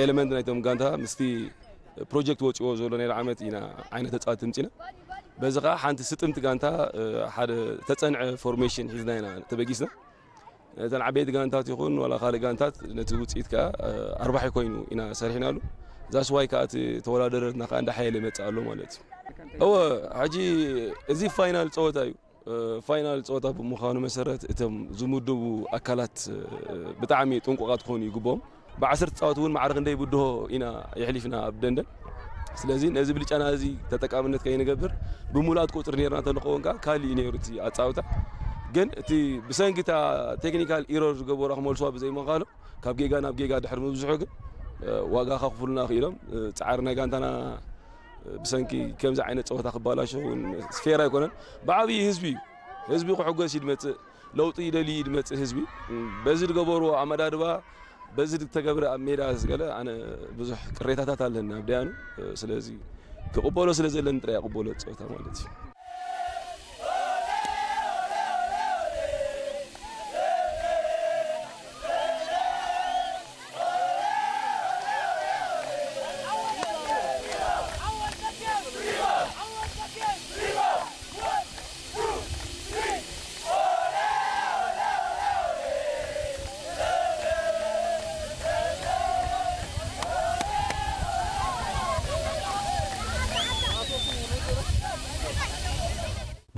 ኤለመንት ናይቶም ጋንታ ምስቲ ፕሮጀክት ወፂዎ ዘሎ ናይ ዓመት ኢና ዓይነት ተፃወቲ ምፂና። በዚ ከዓ ሓንቲ ስጥምቲ ጋንታ ሓደ ተፀንዐ ፎርሜሽን ሒዝና ኢና ተበጊስና። እተን ዓበይቲ ጋንታት ይኹን ዋላ ካልእ ጋንታት ነቲ ውፅኢት ከዓ ኣርባሒ ኮይኑ ኢና ሰሪሕናሉ። ዛስዋይ ከዓ እቲ ተወዳደረትና ከዓ እንዳሓየለ ይመፅእ ኣሎ ማለት እዩ። እወ፣ ሕጂ እዚ ፋይናል ፀወታ እዩ። ፋይናል ፀወታ ብምዃኑ መሰረት እቶም ዝምድቡ ኣካላት ብጣዕሚ ጥንቁቓት ክኾኑ ይግብኦም። ብዓሰርተ ፃወት እውን ማዕረ ክንደይ ብድሆ ኢና የሕሊፍና ኣብ ደንደን። ስለዚ ነዚ ብልጫና እዚ ተጠቃምነት ከይንገብር ብምሉኣት ቁፅሪ ነርና እንተንኸውን ከዓ ካሊእ እዩ ነይሩ እቲ ኣፃውታ። ግን እቲ ብሰንኪ እታ ቴክኒካል ኢሮር ዝገበሩ ክመልስዋ ብዘይምዃኑ ካብ ጌጋ ናብ ጌጋ ድሕሪ ምብዝሑ ግን ዋጋ ከኽፍሉና ክኢሎም። ፃዕሪ ናይ ጋንታና ብሰንኪ ከምዚ ዓይነት ፀወታ ክባላሾ እውን ፌር ኣይኮነን። ብዓብዪ ህዝቢ እዩ። ህዝቢ ክሕጎስ እዩ ድመፅእ፣ ለውጢ ይደሊ እዩ ድመፅእ ህዝቢ። በዚ ዝገበርዎ ኣመዳድባ፣ በዚ ዝተገብረ ኣብ ሜዳ ገለ ኣነ ብዙሕ ቅሬታታት ኣለኒ ኣብ ደያኑ። ስለዚ ክቕበሎ ስለ ዘለኒ ጥራይ እቕበሎ ፀወታ ማለት እዩ።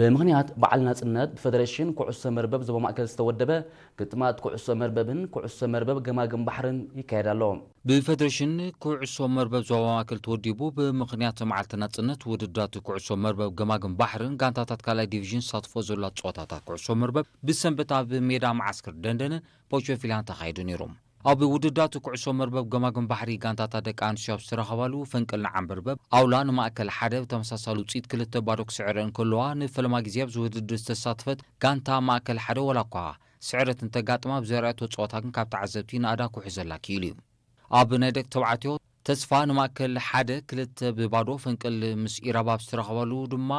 ብምኽንያት በዓል ናጽነት ብፈደረሽን ኩዕሶ መርበብ ዞባ ማእከል ዝተወደበ ግጥማት ኩዕሶ መርበብን ኩዕሶ መርበብ ገማግም ባሕርን ይካየድ ኣሎ። ብፈደረሽን ኩዕሶ መርበብ ዞባ ማእከል ተወዲቡ ብምኽንያት መዓልቲ ናጽነት ውድድራት ኩዕሶ መርበብ ገማግም ባሕርን ጋንታታት ካልኣይ ዲቪዥን ዝሳተፎ ዘሎ ጸወታታት ኩዕሶ መርበብ ብሰንበት ኣብ ሜዳ መዓስከር ደንደንን ፖቾፊላን ተኻይዱ ነይሩ። ኣብ ውድድራት ኩዕሶ መርበብ ገማግም ባሕሪ ጋንታታት ደቂ ኣንስትዮ ኣብ ዝተረኸባሉ ፈንቅል ንዓንበርበብ ኣውላ ንማእከል ሓደ ብተመሳሳሊ ውፅኢት ክልተ ባዶ ክስዕረ እንከለዋ ንፈለማ ግዜ ኣብዚ ውድድር ዝተሳተፈት ጋንታ ማእከል ሓደ ዋላ እኳ ስዕረት እንተጋጥማ ብዘርኣየቶ ፀወታ ግን ካብ ተዓዘብቲ ናእዳ ክውሕዘላ ክኢሉ እዩ። ኣብ ናይ ደቂ ተባዕትዮ ተስፋ ንማእከል ሓደ ክልተ ብባዶ ፈንቅል ምስ ኢራብ ኣብ ዝተረኸባሉ ድማ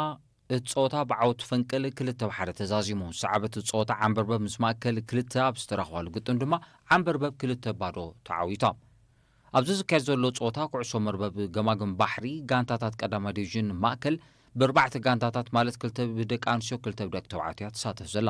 እቲ ጸወታ ብዓወት ፈንቅል ክልተ ብ ሓደ ተዛዚሙ። ዝሰዓበት ጸወታ ዓንበርበብ ምስ ማእከል ክልተ ኣብ ዝተረኽባሉ ግጥም ድማ ዓንበርበብ ክልተ ብ ባዶ ተዓዊታ። ኣብዚ ዝካየድ ዘሎ ጸወታ ኩዕሶ መርበብ ገማግም ባሕሪ ጋንታታት ቀዳማይ ዲቪዥን ማእከል ብኣርባዕተ ጋንታታት ማለት ክልተ ብደቂ ኣንስትዮ ክልተ ብደቂ ተባዕትዮ እያ ትሳተፍ ዘላ።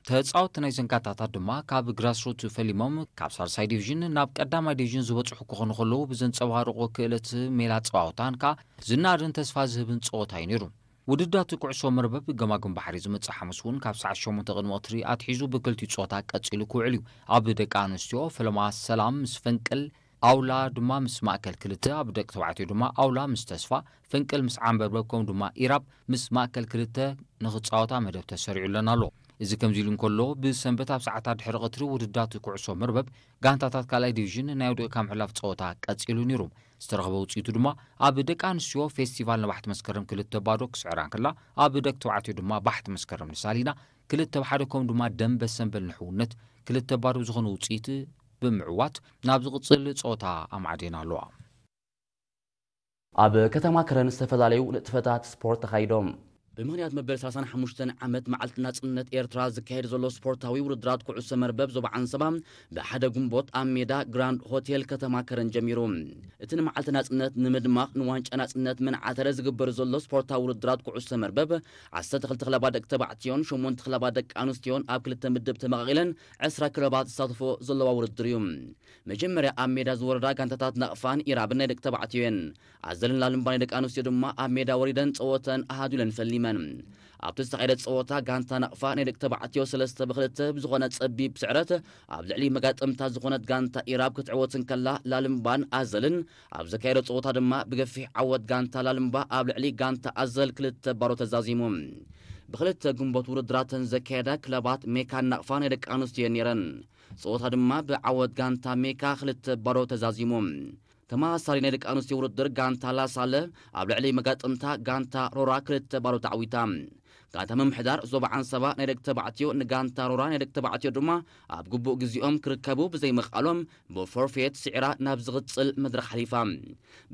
ተጻወትቲ ናይዘን ጋንታታት ድማ ካብ ግራስሩት ፈሊሞም ካብ ሳልሳይ ዲቪዥን ናብ ቀዳማይ ዲቪዥን ዝበጽሑ ክኾኑ ከለዉ ብዘንጸባርቖ ክእለት ሜላ ጸዋውታን ከኣ ዝናድን ተስፋ ዝህብን ጸወታ እዩ ነይሩ። ውድዳት ኩዕሶ መርበብ ገማግም ባሕሪ ዝመጽእ ሓሙስ እውን ካብ ሰዓት ሸሞንተ ቅድሚ ቀትሪ ኣትሒዙ ብክልቲኡ ጾታ ቀጺሉ ክውዕል እዩ። ኣብ ደቂ ኣንስትዮ ፈለማ ሰላም ምስ ፈንቅል ኣውላ ድማ ምስ ማእከል ክልተ፣ ኣብ ደቂ ተባዕትዮ ድማ ኣውላ ምስ ተስፋ፣ ፈንቅል ምስ ዓንበርበብ ከምኡ ድማ ኢራብ ምስ ማእከል ክልተ ንኽጻወታ መደብ ተሰሪዑለን ኣሎ። እዚ ከምዚ ኢሉ እንከሎ ብሰንበት ኣብ ሰዓታት ድሕሪ ቀትሪ ውድዳት ኩዕሶ መርበብ ጋንታታት ካልኣይ ዲቪዥን ናይ ወዲቕካ ምሕላፍ ጸወታ ቀጺሉ ነይሩ። ዝተረኽበ ውጽኢቱ ድማ ኣብ ደቂ ኣንስትዮ ፌስቲቫል ነባሕቲ መስከረም ክልተ ባዶ ክስዕራ እንከላ ኣብ ደቂ ተባዕትዮ ድማ ባሕቲ መስከረም ንሳሊና ክልተ ብ ሓደ ከምኡ ድማ ደንበ ሰንበል ንሕውነት ክልተ ባዶ ብዝኾነ ውጽኢት ብምዕዋት ናብ ዝቕጽል ጸወታ ኣማዕዲና ኣለዋ። ኣብ ከተማ ከረን ዝተፈላለዩ ንጥፈታት ስፖርት ተኻይዶም። ብምኽንያት መበል ሰላሳን ሓሙሽተን ዓመት መዓልቲ ናጽነት ኤርትራ ዝካየድ ዘሎ ስፖርታዊ ውድድራት ኩዕሶ መርበብ ዞባ ዓንሰባ ብሓደ ግንቦት ኣብ ሜዳ ግራንድ ሆቴል ከተማ ከረን ጀሚሩ። እቲ ንመዓልቲ ናጽነት ንምድማቕ ንዋንጫ ናጽነት መናዓተረ ዝግበር ዘሎ ስፖርታዊ ውድድራት ኩዕሶ መርበብ ዓሰርተ ክልተ ክለባት ደቂ ተባዕትዮን ሸሞንተ ክለባት ደቂ ኣንስትዮን ኣብ ክልተ ምድብ ተመቓቒለን ዕስራ ክለባት ዝሳተፎ ዘለዋ ውድድር እዩ። መጀመርያ ኣብ ሜዳ ዝወረዳ ጋንታታት ናቕፋን ኢራብን ናይ ደቂ ተባዕትዮ እየን። ኣዘልን ላልምባ ናይ ደቂ ኣንስትዮ ድማ ኣብ ሜዳ ወሪደን ጸወተን ኣሃዱ ኢለን ፈሊመን። ኣብቲ ዝተኻየደ ጸወታ ጋንታ ናቕፋ ናይ ደቂ ተባዕትዮ ሰለስተ ብክልተ ብዝኾነ ጸቢብ ስዕረት ኣብ ልዕሊ መጋጥምታ ዝኾነት ጋንታ ኢራብ ክትዕወት እንከላ ላልምባን ኣዘልን ኣብ ዘካየዶ ጸወታ ድማ ብገፊሕ ዓወት ጋንታ ላልምባ ኣብ ልዕሊ ጋንታ ኣዘል ክልተ ባዶ ተዛዚሙ። ብክልተ ግንቦት ውድድራተን ዘካየዳ ክለባት ሜካን ናቕፋ ናይ ደቂ ኣንስትዮ እየን ነይረን። ጸወታ ድማ ብዓወት ጋንታ ሜካ ክልተ ባዶ ተዛዚሙ። ተመሳሳሊ ናይ ደቂ ኣንስትዮ ውድድር ጋንታ ላሳለ ኣብ ልዕሊ መጋጥምታ ጋንታ ሮራ ክልተ ባዶ ተዓዊታ። ጋንታ ምምሕዳር ዞባ ዓንሰባ ናይ ደቂ ተባዕትዮ ንጋንታ ሮራ ናይ ደቂ ተባዕትዮ ድማ ኣብ ግቡእ ግዜኦም ክርከቡ ብዘይምኽኣሎም ብፎርፌት ስዒራ ናብ ዝቕጽል መድረኽ ሓሊፋ።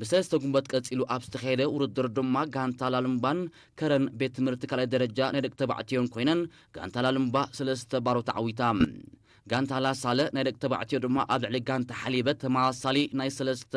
ብሰለስተ ጉንበት ቀጺሉ ኣብ ዝተኻየደ ውድድር ድማ ጋንታ ላልምባን ከረን ቤት ትምህርቲ ካልኣይ ደረጃ ናይ ደቂ ተባዕትዮን ኮይነን ጋንታ ላልምባ ሰለስተ ባዶ ተዓዊታ። ጋንታ ላሳለ ናይ ደቂ ተባዕትዮ ድማ ኣብ ልዕሊ ጋንታ ሓሊበት ተመሳሳሊ ናይ ሰለስተ